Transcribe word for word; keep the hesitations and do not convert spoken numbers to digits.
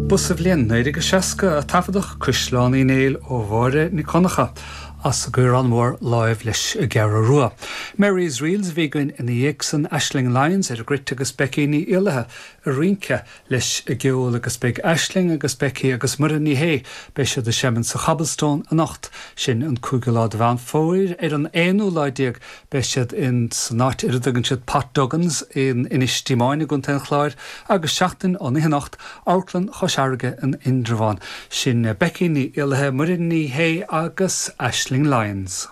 Ba sa bhliain naoi déag seasca a taifeadadh Caisleán Uí Néill ó Mháire Nic Dhonncha as an gCaorán Mór láimh leis an gCeathrú Rua. Mary's Reels bhí againn ina dhiaidh san Aisling Lyons ar an gcruit agus Becky Ní Éallaithe ag rince leis an gceol agus beidh Aisling agus Becky agus Muireann Ní Shé beidh siad ag seinm sa Cobblestone anocht sin an cúigiú lá de Mheán Fómhair ar an aonú lá déag beidh siad in san áit ar a dtugann siad Pat Duggan's in Inis Díomáin i gContae an Chláir agus seachtain ón anocht Amharclann Chois Fharraige in Indreabhán sin Becky Ní Éallaithe Muireann Ní Shé agus Aisling Lyons.